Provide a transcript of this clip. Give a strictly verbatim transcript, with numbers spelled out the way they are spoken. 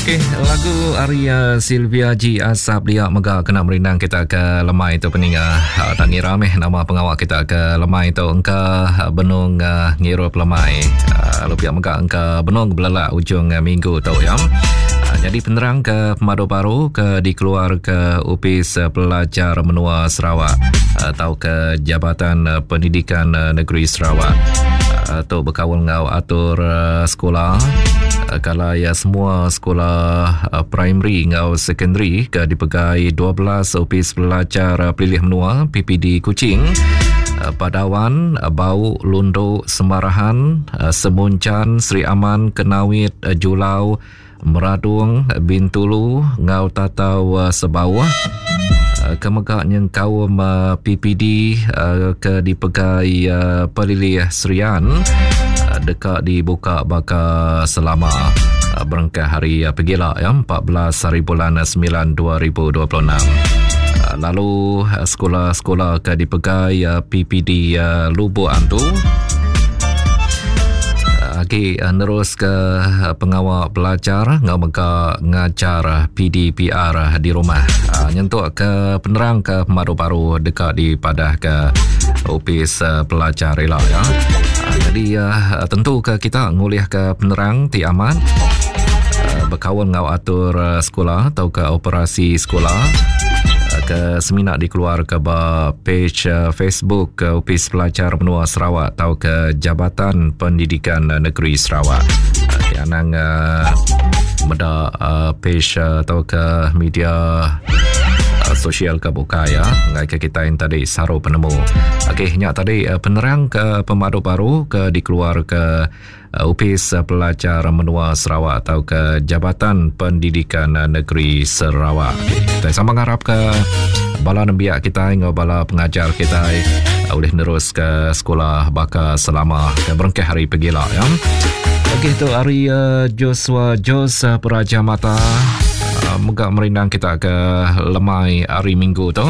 Okey, lagu ari uh, Sylvia G Asap dia mega kena merindang kita ke lemai tu peninga. Uh, tak ngira meh nama pengawa kita ke lemai tu engka benung uh, ngirup lemai. Uh, lalu pihak mega engka benung belelak ujung uh, minggu tu ya. Uh, jadi penerang ke pemadu baru ke dikeluar ke Opis Pelajar Menua Sarawak atau ke Jabatan Pendidikan Negeri Sarawak. Uh, tu berkaul ngau atur uh, sekolah. Uh, kalau ya semua sekolah uh, primary ngau secondary ke dipegai dua belas Opis Pelajar Pelilih Menua P P D Kuching, uh, Padawan, uh, Bau, Lundu, Semarahan, uh, Semuncan, Sri Aman, Kenawit, uh, Julau, Meradung, Bintulu, ngau Tatau uh, Sebauh. Uh, kemegak nyengkaum uh, P P D uh, ke dipegai uh, Pelilih Serian uh, dekat dibuka baka selama uh, berengkah hari uh, pegila ya, empat belas hari bulan sembilan dua ribu dua puluh enam. Uh, lalu uh, sekolah-sekolah ke dipegai uh, P P D uh, Lubuk Antu lagi uh, nerus ke uh, pengawal pelajar ngau mega ngajar P D P R di rumah. Uh, nyentuk ke penerang ke pemadu baru dekat di padah ke Opis uh, Pelajar ila ya. Uh, jadi uh, tentu ke kita ngulih ke penerang ti aman uh, berkawan ngau atur uh, sekolah atau ke operasi sekolah ke seminar dikeluar ke ba page uh, Facebook ke Opis Pelajar Menua Sarawak atau ke Jabatan Pendidikan Negeri Sarawak. Uh, anang uh, meda uh, page uh, atau ke media uh, sosial ke buka ya, ngai ke kita yang tadi saru penemu. Okey, nyak tadi uh, penerang ke pemadu baru ke dikeluar ke uh, Opis Pelajar Menua Sarawak atau ke Jabatan Pendidikan Negeri Sarawak. Okey, kita sama ngarap ke bala nembiak kita ngau bala pengajar kita boleh nerus ke sekolah baka selama ke berengkah hari pegila ya. Okey, tu hari uh, Joshua Jos uh, Peraja Mata uh, megak merindang kita ke lemai hari Minggu tu.